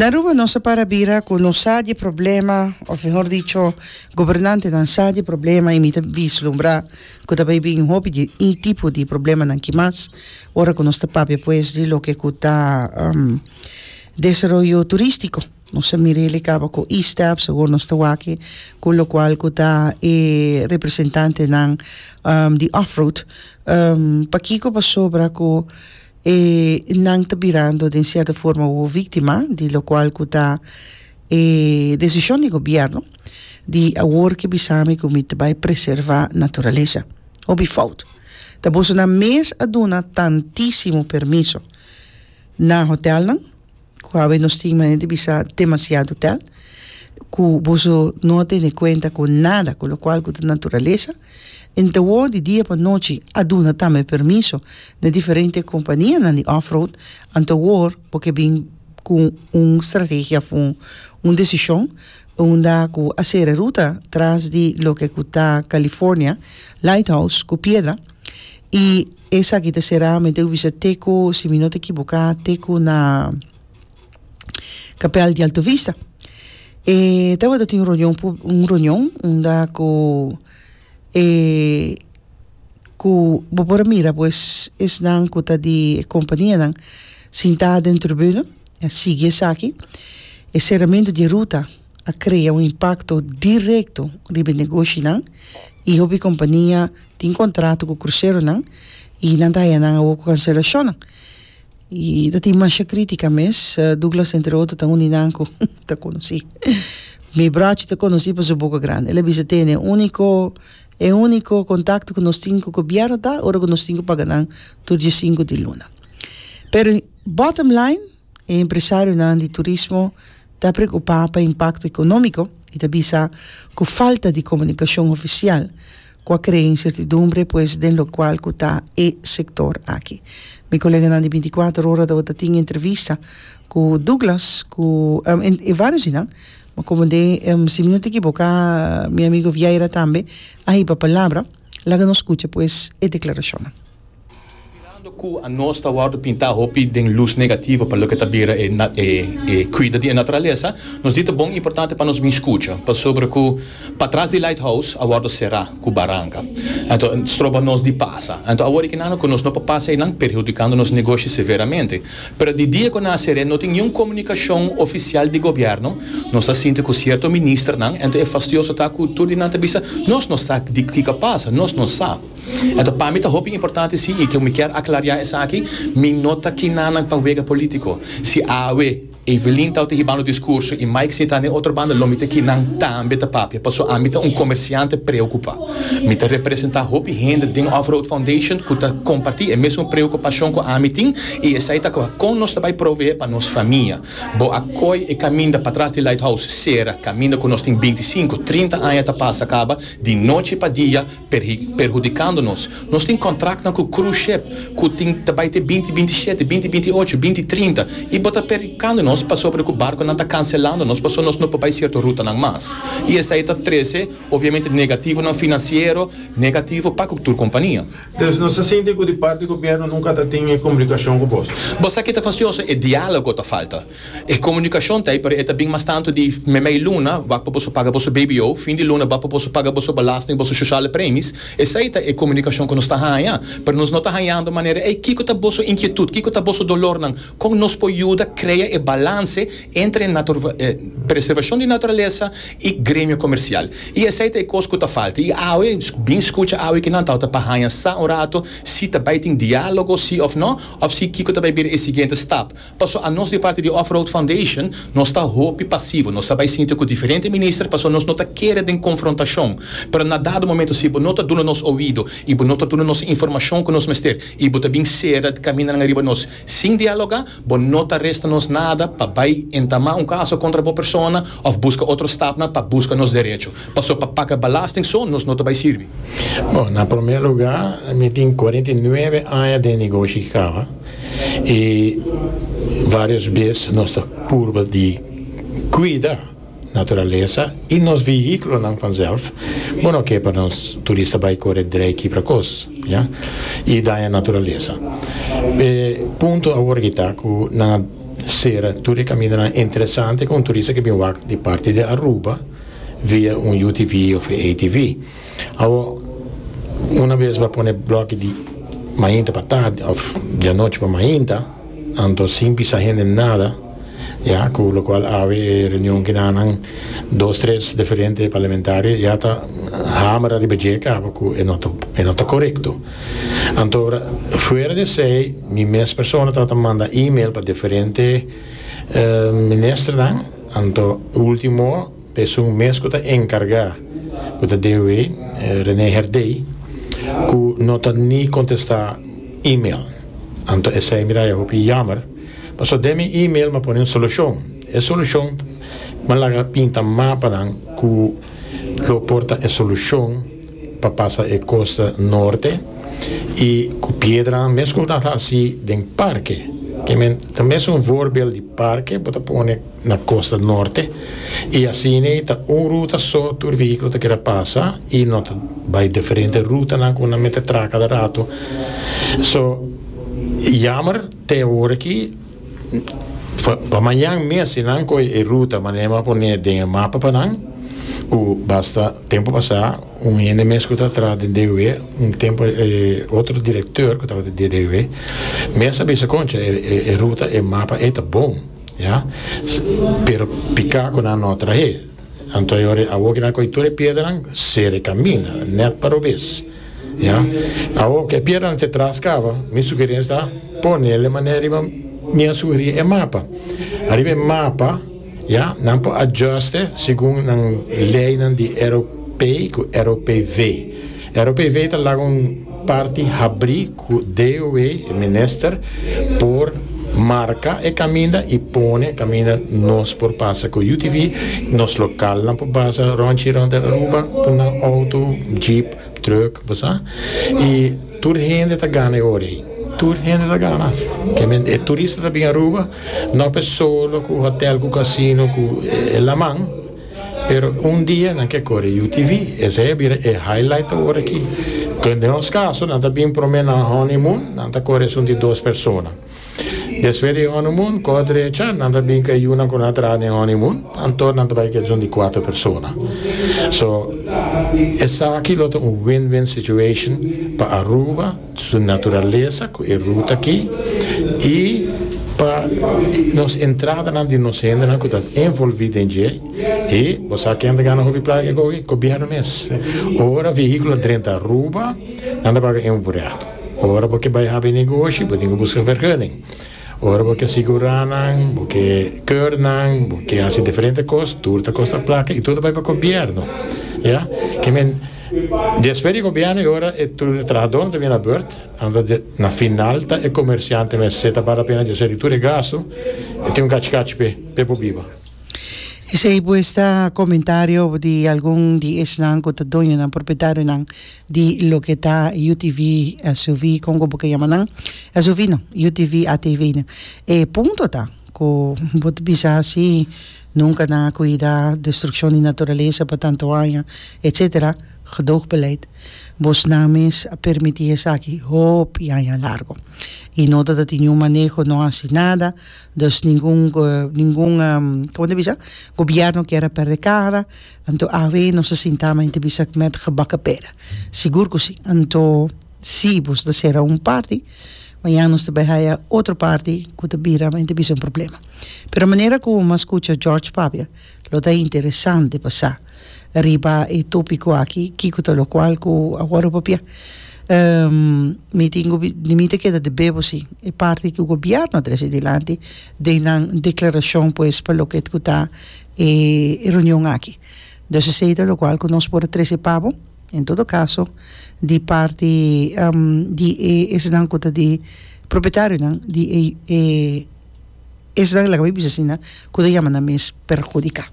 Na Aruba nos a para bira cu no sa di e problema, of mehor dicho, gobernantenan sa di e problema y mi ta vislumbra cu ta bay bin hopi di e tipo di problemanan ki mas ora cu nos ta papia pues di loke cu ta desaroyo turistico. Nos a mira el caba cu E-Steps, awor nos ta wak cu locual cu ta e representantenan di off-road. Pakico? Pasobra cu E nan ta birando den cierto forma awor victima di locual cu ta e decision di gobierno di awor ke bisa mi cu mi ta bay preserva naturalesa. Hopi fout. Ta bosonan mes a duna tantisimo permiso na hotelnan. Ku awe nos tin manera di bisa demasiado tel ku boso no a tene kuenta ku nada ku lokual ku ta naturalesa. Entawor di dia pa nochi a duna tambe permiso na diferente kompanianan di off-road, anto awor bo ke bin ku un strategia of un desishon unda ku a sera ruta tras di loke ku ta California Lighthouse ku piedra i Esaki ta será, mi ta bisa te ku, si mi no ta ekiboká, te ku na Kapèl di Alto Vista. E tabata tin un reunion pub, un reunion unda ku e ku bo por a mira pues esnan ku ta di e kompanianan sintá den tribuna a sigui esaki. E seramentu di e ruta a krea un impakto direkto riba e negoshinan i hopi kompania Tin kontrato ku kruseronan i nan ta haya nan awor ku kanselashonnan. I ta tin masha kritika mes. Douglas entre otro ta un di nan ku ta konosí. Mi brochi ta konosí pa su boka grandi. El a bisa tene uniko e uniko kontakto ku nos tin ku gobièrnu ta ora ku nos tin ku paga nan tur diesinku di luna. Pero bottom line e empresarionan di turismo ta preokupá pa impakto ekonómiko i ta bisa ku falta di komunikashon ofisial ku a krea insertidumbre pues den lokual ku ta e sektor aki. Mi koleganan di bintikuater ora tabata tin entrevista ku Douglas ku e varios di nan, ma komo den si mi no ta ekiboká mi amigo Vieira tambe a hiba palabra, laga nos skucha pues e deklarashonnan. Mirando ku anos ta wòrdu pintá hopi den lus negativo pa loke ta bira e e kuida di e naturalesa, nos di ta bon importante pa nos bin skucha, pasobra ku patras di Lighthouse a wòrdu será ku baranka, anto stroba nos di pasa. Anto awor e kinan ku nos no por pasa einan perhudikando nos negoshi severamente. Pero di dia ku nan a ser'é no tin niun komunikashon ofisial di gobièrnu, nos ta sinti ku sierto ministernan, anto e fastioso ta ku tur di nan ta bisa nos no sa di kiko a pasa, nos no sa. Anto pa mi ta hopi importante si y cu mi kier aclaria esaki, mi no ta kinanan pa wega politico. Si awe Evelyn tawata hibando discurso y Mike sinta na e otro banda lo mi ta kinan tambe ta papia paso ami ta un comerciante preocupa. Mi ta representa hopi hende den Off Road Foundation cu ta comparti e mesun preocupacion cu ami tin y esey ta con nos ta bay provee pa nos famia. Bo a coy e caminda patras di Lighthouse cera, caminda cu nos tin binticinco, trinta aña ta pasa caba di nochi pa dia, Perhudikando nos. Nos tin kontraktnan ku cruise ship ku tin ta bai te binti binti shete, binti binti ocho, binti trinta i bo ta perhudikando nos pasobra ku barkonan ta kanselando nos pasobra nos no por bai sierto rutanan mas. I esei ta trese obviamente negativonan finansiero negativo pa ku tur kompania. Dus nos ta sinti ku di parti gobièrnu nunka ta tin e komunikashon ku boso. Bo sa ke ta fasioso? E diálogo ta falta. E komunikashon ta ei, pero e ta bin mas tantu di meimei luna, wak pa boso paga boso BBO, fin di luna wak pa boso paga boso belasting, boso sociale premies. Esei ta e komunikashon ku nos ta haña. Pero nos no ta hañando manera, ei, kiko ta boso inkietut, kiko ta boso dolornan, kon nos por yuda krea e balanse entre e preservashon di naturalesa i gremio komersial. I esei ta e kos ku ta falta. I awe, bin skucha awe kinan tabata pa haña sa un rato si ta bai tin diálogo si òf no, òf si kiko ta bai bira e siguiente stap. Paso anos di parti di Off Road Foundation nos ta hopi pasivo, nos ta bai sinti ku diferente minister paso nos no ta kere den konfrontashon. Pero na dado momento si bo no ta duna nos oido i bo no ta duna nos informashon ku nos mester i bo ta bin sera kamindanan riba nos sin dialoga, bo no ta resta nos nada pa bai entamá un kaso kontra bo persona òf buska otro stapnan pa buska nos derecho. Paso pa paga belasting so nos no ta bai sirbi. Bon, na promé lugá mi tin 49 aña den negoshi kaba. I varios bes nos ta purba di kuida naturalesa i nos vehíkulonan vanzelf. Bo no ke pa nos turista bai kore drei kibra kos, ya, i daña naturalesa. E punto awor aki ta ku nan a. sera tur e kamindanan interesante ku un turista ke bin wak di parti di Aruba via un UTV òf e ATV. Awor, una bes bo a pone blòki di mainta pa tardi òf di anochi pa mainta, anto sin bisa hende nada, ya, ku lokual awe e reunion kinanan dos tres diferente parlamentario ya ta hamera riba dje kaba ku e no ta e no ta korekto. Anto ora fuera di esei mi mes persona tabata manda email pa diferente ministernan, anto ultimo Esun mes ku ta enkargá ku ta DOW, René Herdé, ku no ta ni kontestá email. Anto esei mi ta haña hopi yammer, pasobra den mi email mi a pone un solushon. E solushon mi a laga pinta mapanan ku lo por ta e solushon pa pasa e kosta norte i ku piedranan mes ku nan ta hasi den parke. Ke men ta mesun voorbeeld di parke bo ta pone. na kosta norte i asina ei ta un ruta so tur vehíkulo ta keda pasa i no ta bai diferente rutanan ku nan mester traha kada ratu. So yammer te awor aki pa mañan mes si nan kohe e ruta manera mi a pone den e mapa pa nan ku basta tempu pasá un hende mes ku ta traha den DOW un tempu e otro direkteur ku tabata di DOW mes a bisa koncha e ruta e mapa ei ta bon. Ya, pero piká ku nan no a trah'é. Anto e ora awor ku nan kohe tur e piedranan, sera e kaminda, nèt pa robes. Ya, awor ku e piedranan ta tras kaba, mi sugerensia ta ponele manera riba mi a sugerí e mapa. Ariba e mapa, ya, nan por adjust'e segun nan leinan di ROP ku ROPV. ROPV ta laga un parti habrí ku DOW, e minister, por marka e kaminda i pone kaminda nos por pasa ku UTV, nos lokalnan por pasa ròntchi rònt Aruba ku nan outo, jeep, trùk, bo sa. I tur hende ta gana e ora ei. Tur hende ta gana. Ke men e turista ta bin Aruba no pa e solo ku hotèl, ku kasino, ku e laman. Pero un dia nan ke kore UTV. Esei a bira e highlight awor aki. Den nos kaso nan ta bin prome na honeymoon, nan ta kore esun di dos persona. Despues di honeymoon, ko drecha, nan ta bin ku e yunan ku nan a traha den honeymoon, anto nan ta bai ku esun di kuater persona. So, esaki lo ta un win-win situation pa Aruba. Su naturalesa ku e ruta aki i pa nos entradanan di nos hendenan ku ta envolví den dje i bo sa ken ta gana hopi plaka ku gobièrnu mes. Ora vehíkulo drenta Aruba nan ta paga invoerrecht. Ora bo ke bai habi negoshi bo tin ku buska vergunning. Ora bo ke sigurá nan, bo ke keur nan, bo ke hasi diferente kos, tur ta kosta plaka i tur ta bai pa gobièrnu. Ya, ke men despues di gobièrnu e ora e tur e trahadónan ta bini na bùrt, anto na final ta e komersiante mes se ta bal la pena dje di tur e gastu e tin un kachi kachi p'e p'e por biba. Esei pues ta komentario di algun di esnan ku ta doñonan, propietarionan di loke ta UTV, SUV, kon ku bo ke yama nan, SUV no, UTV, ATV nan. E punto ta ku bo ta bisa si nunka nan a kuida destrukshon di naturalesa pa tantu aña, etsetera, gedoogbeleid. Bosnan mes a permití esaki hopi aña largo i no ta tin niun maneho, no hasi nada, dus ningun ningun komo ta bisa gobièrnu kier a pèrdè kara. Anto awe nos a sinta ma entrevista met gebakken pera. Sigur ku si. Anto si boso ta sera un parti, mañan nos ta bai haya otro parti ku ta bira ma entrevista un problema. Pero manera ku mi a skucha George papia, lo ta interesante pa sa riba e topiko aki kiko ta lokual ku a wòrdu papia. Mi tin ku mi ta keda debe bo si e parti ku gobièrnu a trese dilanti den nan deklarashon pues pa loke ku ta e reunion aki. Dus esei ta lokual ku nos por a trese pa bo, en todo kaso di parti di e esnan ku ta di propietarionan di e esnan laga mi bisa asina ku ta yama nan mes perhudiká.